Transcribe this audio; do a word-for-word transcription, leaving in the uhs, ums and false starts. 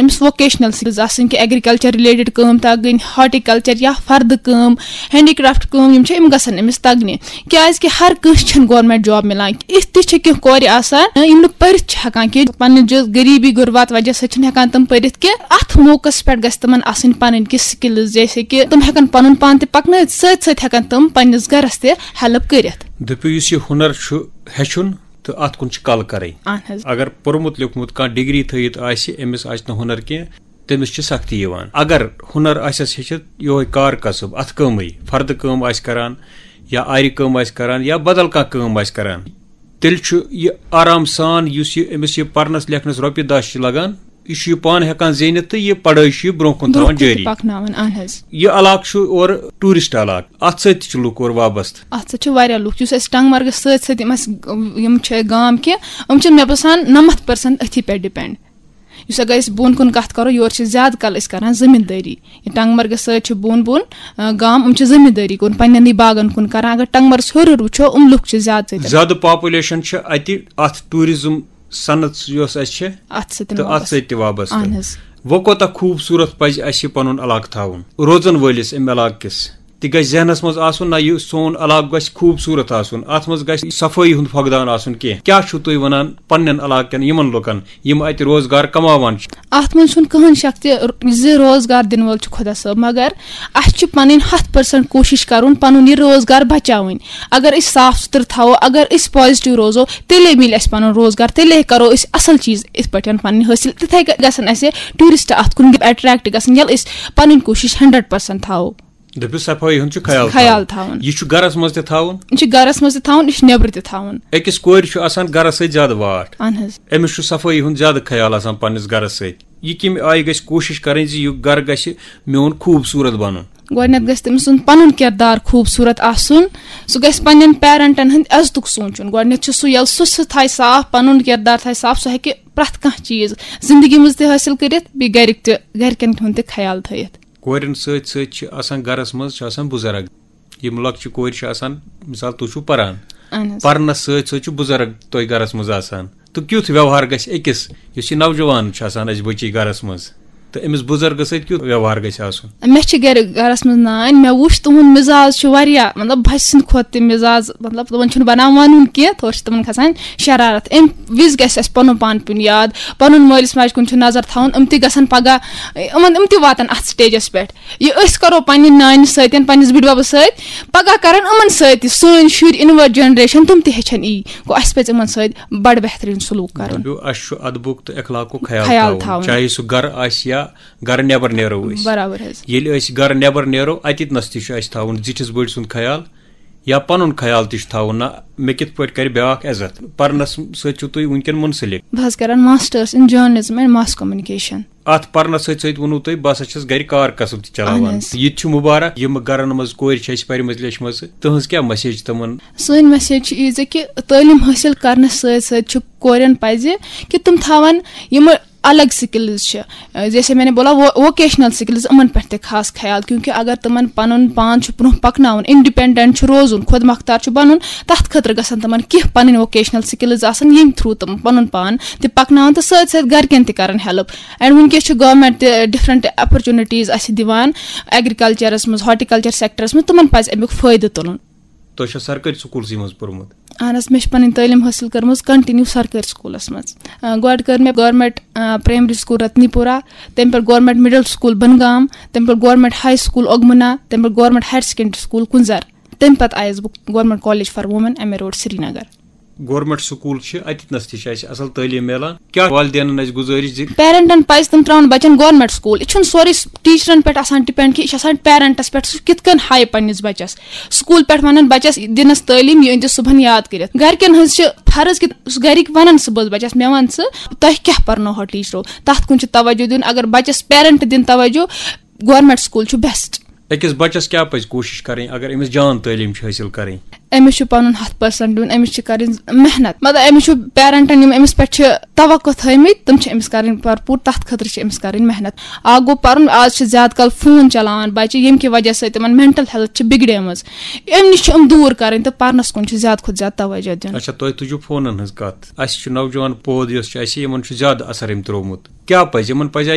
أمِس vocational skills آسٕنۍ، کہِ ایگریکلچر رِلیٹڈ کٲم تَگٕنۍ، ہارٹیکلچر یا فردٕ کٲم، ہینڈی کرافٹ کٲم، یِم چھِ، یِم گژھن أمِس تَگنہِ۔ کیازِ کہِ ہر کٲنٛسہِ چھَنہٕ گورنمنٹ جاب مِلان۔ یِتھ تہِ چھِ کینٛہہ کورِ آسان، یِم نہٕ پٔرِتھ چھِ ہٮ۪کان کینٛہہ، پننہِ جو-، غریٖبی غربات وجہ سۭتۍ چھِنہٕ ہٮ۪کان تِم پٔرِتھ کینٛہہ۔ اَتھ موقعس پٮ۪ٹھ گژھِ تِمن آسٕنۍ پنٕنۍ کینٛہہ سکلز، جیسے کہِ تِم ہٮ۪کن پنُن پان تہِ پکنٲوِتھ، سۭتۍ سۭتۍ ہٮ۪کن تِم پننِس گرس تہِ ہیلپ کٔرِتھ۔ دٔپِو، یُس یہِ ہُنر چھُ ہیٚچھُن تہٕ اَتھ کُن چھُ کل کرٕنۍ۔ اہن حظ۔ اگر پوٚرمُت لیوٚکھمُت کانٛہہ ڈگری تھٲیِتھ آسہِ، أمِس آسہِ نہٕ ہُنر کینٛہہ، تٔمِس چھِ سختی یِوان۔ اگر ہُنر آسٮ۪س ہیٚچھِتھ یِہوٚے کار کسب، اَتھٕ کٲمٕے، فردٕ کٲم آسہِ کران یا آرِ کٲم آسہِ کران یا بدل کانٛہہ کٲم آسہِ کران، تیٚلہِ چھُ یہِ آرام سان، یُس یہِ أمِس یہِ پرنس لیکھنس رۄپیہِ دَہ چھِ لگان، یہِ چھُ یہِ پانہٕ ہٮ۪کان زیٖنِتھ تہٕ یہِ پڑٲے چھُ یہِ برٛونٛہہ کُن تھاوان برٛونٛہہ کُن جٲری۔ پکناوان، اہن حظ۔ یہِ علاقہٕ چھُ اورٕ ٹوٗرسٹ علاقہٕ، اَتھ سۭتۍ تہِ چھِ لُکھ اورٕ وابستہٕ۔ اَتھ سۭتۍ چھِ واریاہ لُکھ، یُس اَسہِ ٹنٛگمرگس سۭتۍ سۭتۍ یِم اَسہِ، یِم چھِ گام کینٛہہ، یِم چھِ، مےٚ باسان، نَمَتھ پٔرسنٹ أتھی پٮ۪ٹھ ڈِپٮ۪نٛڈ۔ یُس اگر أسۍ بۄن کُن کتھ کرو، یورٕ چھِ زیادٕ کل أسۍ کران زٔمیٖندٲری۔ یہِ ٹنٛگمرگس سۭتۍ چھِ بۄن بۄن، آ، گام، یِم چھِ زٔمیٖندٲری کُن، پننٮ۪نٕے باغن کُن کران۔ اگر ٹنٛگمرس ہیوٚر ہیوٚر وٕچھو، یِم لُکھ چھِ زیادٕ سۭتۍ۔ زیادٕ پاپولیشن چھِ اتہِ اتھ ٹوٗرزم صنعت یۄس اسہِ چھِ، اتھ سۭتۍ تہٕ اتھ وابستہٕ۔ سۭتۍ تہِ وابستہٕ۔ اہن حظ۔ وۄنۍ کوتاہ خوٗبصوٗرت پزِ اسہِ یہِ پنُن علاقہٕ تھاوُن، روزن وٲلِس امہِ علاقہٕ کِس۔ تہِ گژھِ ذہنس منٛز آسُن، نہ، یہِ سون علاقہٕ گژھِ خوٗبصوٗرت آسُن، اتھ منٛز گژھِ صفٲیی ہُنٛد فقدان آسُن کینٛہہ۔ کیٛاہ چھِو تُہۍ ونان پننٮ۪ن علاقہٕ کٮ۪ن یِمن لُکن، یِم اتہِ روزگار کماوان چھِ؟ اتھ منٛز چھُنہٕ کٕہٕنۍ شک تہِ زِ روزگار دِنہٕ وول چھُ خۄدا صٲب، مگر اسہِ چھِ پنٕنۍ ہتھ پٔرسنٹ کوٗشش کرُن پنُن یہِ روزگار بچاوٕنۍ۔ اگر أسۍ صاف سُتھرٕ تھاوو، اگر أسۍ پازیٹیو روزو، تیٚلے مِلہِ اسہِ پنُن روزگار، تیٚلے کرو أسۍ اصل چیٖز یِتھ پٲٹھۍ پننہِ حٲصِل۔ تِتھے کٔنۍ گژھن اسہِ ٹوٗرسٹ اتھ کُن اٹریکٹ گژھٕنۍ، ییٚلہِ أسۍ پنٕنۍ کوٗشش ہنڈریڈ پٔرسنٹ تھاوو۔ دٔپِو، صفٲیی ہُنٛد چھُ خیال خیال تھاوُن۔ تھاوُن۔ یہِ چھُ گرس منٛز تہِ تھاوُن۔ یہِ چھُ گرس منٛز تہِ تھاوُن، یہِ چھُ نیٚبرٕ تہِ تھاوُن۔ أکِس کورِ چھُ آسان گرس سۭتۍ زیادٕ واٹھ۔ اہن حظ۔ أمِس چھُ صفٲیی ہُنٛد زیادٕ خیال آسان پننِس گرس سۭتۍ۔ یہِ کمہِ آیہِ گژھِ کوٗشش کرٕنۍ زِ یہِ گرٕ گژھِ میون خوٗبصوٗرت بنُن؟ گۄڈٕنیتھ گژھِ تٔمۍ سُنٛد پنُن کردار خوٗبصوٗرت آسُن۔ سُہ گژھِ پننٮ۪ن پیرنٹن ہُنٛد عزتُک سونٛچُن۔ گۄڈٕنیتھ چھُ سُہ، ییٚلہِ سُہ، سُہ تھایہِ صاف، پنُن کردار تھایہِ صاف، سُہ ہیٚکہِ پرٛٮ۪تھ کانٛہہ چیٖز زندگی منٛز تہِ حٲصِل کٔرِتھ، بیٚیہِ گرِکۍ تہِ، گرِکٮ۪ن ہُنٛد تہِ خیال تھٲیِتھ۔ کورٮ۪ن سۭتۍ سۭتۍ چھِ آسان گرس منٛز، چھِ آسان بُزرگ۔ یِم لۄکچہِ کورِ چھِ آسان، مثال، تُہۍ چھِو پران، اہن حظ۔ پرنس سۭتۍ سۭتۍ چھُ بُزرگ تۄہہِ گرس منٛز آسان۔ تہٕ کیُتھ ویوہار گژھِ أکِس، یُس یہِ نوجوان چھُ آسان اَسہِ بٔچی گرس منٛز، تہٕ أمِس بُزرگس سۭتۍ کیُتھ ویوہار گژھِ آسُن؟ مےٚ چھِ گرِ، گرس منٛز نانۍ، مےٚ وٕچھ تُہُنٛد مِزاز چھُ واریاہ، مطلب، بچہِ سٕنٛدِ کھۄتہٕ تہِ مِزاز، مطلب، تِمن چھُنہٕ بنان ونُن کینٛہہ، تورٕ چھِ تِمن کھسان شرارت۔ امہِ وِزِ گژھِ اَسہِ پنُن پان پیُن یاد، پنُن مٲلِس ماجہِ کُن چھُ نظر تھاوُن، یِم تہِ گژھن پگاہ، یِمن، یِم تہِ واتن اتھ سٹیجس پٮ۪ٹھ۔ یہِ أسۍ کرو پننہِ نانہِ سۭتۍ، پننِس بٕڈببس سۭتۍ، پگاہ کرن یِمن سۭتۍ تہِ سٲنۍ شُرۍ، اِنورٹ جنریشن، تِم تہِ ہیٚچھن یی۔ گوٚو، اسہِ پزِ یِمن سۭتۍ بڑٕ بہتریٖن سلوک کرُن۔ دٔپِو، اسہِ چھُ ادبُک تہٕ اخلاقُک خیال خیال تھاوُن۔ تھاوُن۔ چاہے سُہ گرٕ آسہِ یا گرٕ نٮ۪بر نیرو أسۍ۔ برابر حظ۔ ییٚلہِ أسۍ گرٕ نٮ۪بر نیرو، اتٮ۪تھ نس تہِ چھُ اسہِ تھاوُن زِٹھِس بٔڑۍ سُنٛد خیال یا پنُن خیال تہِ چھُ تھاوُن، نہ مےٚ کِتھ پٲٹھۍ کرِ بیٛاکھ عزت۔ پرنس سۭتۍ چھِو تُہۍ وٕنکٮ۪ن منسلک۔ بہٕ حظ کران masters in journalism and mass communication۔ اتھ پرنس سۭتۍ سۭتۍ ووٚنوُ تۄہہِ، بہٕ ہسا چھَس گرِ کار کسب تہِ چلاوان۔ اہن حظ۔ یہِ تہِ چھُ مُبارک، یِم گرن منٛز کورِ چھِ اَسہِ پرِمژٕ لیچھمژٕ، تٕہٕنٛز کیٛاہ message تِمن؟ سٲنۍ message چھِ یہِ زِ کہِ تعلیٖم حٲصِل کرنس سۭتۍ سۭتۍ چھُ کورٮ۪ن پزِ کہِ تِم تھاون یِم الگ سکلز چھِ، جیسے میں نے بولا، وہ ووکیشنل سکلز، یِمن پٮ۪ٹھ تہِ خاص خیال، کیونکہ اگر تِمن پنُن پان چھُ برونٛہہ پکناوُن، انڈیپینڈنٹ چھُ روزُن، خود مختار چھُ بنُن، تتھ خٲطرٕ گژھن تِمن کینٛہہ پنٕنۍ ووکیشنل سکلز آسن، ییٚمہِ through تِم پنُن پان تہِ پکناون تہٕ سۭتۍ سۭتۍ گرِکٮ۪ن تہِ کرن help۔ And وٕنکیٚس چھِ government تہِ different opportunities اسہِ دِوان agriculture منٛز، horticulture sector منٛز، تِمن پزِ امیُک فٲیدٕ تُلُن۔ تۄہہِ چھا سرکٲرۍ سکوٗلسٕے منٛز پوٚرمُت؟ اہن حظ، مےٚ چھِ پنٕنۍ تعلیٖم حٲصِل کٔرمٕژ continue سرکٲرۍ سکوٗلس منٛز۔ آ، گۄڈٕ کٔر مےٚ government، آ، primary school رتنی پورہ، تمہِ پٮ۪ٹھ government middle school بنگام، تمہِ پٮ۪ٹھ government high school اوگمُنا، تمہِ پٮ۪ٹھ government higher secondary school کُنزر۔ تمہِ پتہٕ آیس بہٕ government college for women، M A road, Srinagar. Government school چھِ، اَتہِ نَس تہِ چھِ اَسہِ اَصٕل تعلیٖم میلان۔ کیٛاہ والدینَن اَسہِ گُزٲرِش زِ پیرنٹن پَزِ تِم ترٛاوُن بَچَن گورنمنٹ سکول۔ یہِ چھُنہٕ سورُے ٹیٖچرَن پٮ۪ٹھ آسان ڈِپٮ۪نڈ کہِ یہِ چھُ آسان پیرنٹَس پٮ۪ٹھ، سُہ کِتھ کٔنۍ ہایہِ پنٛنِس بَچَس۔ سکول پٮ۪ٹھ وَنَن بَچَس، دِنَس تعلیٖم، یہِ أنۍ زِ صُبحن یاد کٔرِتھ۔ گَرِکٮ۪ن ہٕنٛز چھِ فرض کہِ سُہ گَرِکۍ وَنَن صُبحَس بَچَس، مےٚ وَن ژٕ، تۄہہِ کیٛاہ پَرنوہو ٹیٖچرو؟ تَتھ کُن چھُ توجہ دیُن۔ اگر بَچَس پیرنٹ دِن توجہ، گورنمنٹ سکول چھُ بیسٹ۔ أکِس بَچَس کیٛاہ پَزِ کوٗشِش کَرٕنۍ اگر أمِس جان تعلیٖم چھِ حٲصِل کَرٕنۍ؟ أمِس چھُ پَنُن ہَتھ پٔرسنٹ دیُن، أمِس چھِ کَرٕنۍ محنت۔ مطلب، أمِس چھُ پیرنٹَن، یِم أمِس پٮ۪ٹھ چھِ توقع تھٲومٕتۍ، تِم چھِ أمِس کَرٕنۍ بھرپوٗر، تَتھ خٲطرٕ چھِ أمِس کَرٕنۍ محنت۔ اَکھ گوٚو پَرُن، آز چھِ زیادٕ کال فون چَلاوان بَچہِ، ییٚمہِ کہِ وجہ سۭتۍ تِمَن مینٹل ہیلتھ چھِ بِگڑیمٕژ۔ اَمہِ نِش چھِ یِم دوٗر کَرٕنۍ تہٕ پَرنَس کُن چھُ زیادٕ کھۄتہٕ زیادٕ توجہ دیُن۔ اچھا، تۄہہِ تُجوٕ فونَن ہٕنٛز کَتھ۔ اَسہِ چھُ نوجوان پود یۄس چھِ اَسہِ، یِمَن چھُ زیادٕ اثر أمۍ ترٛوومُت۔ کیٛاہ پَزِ یِمَن؟ پَزِ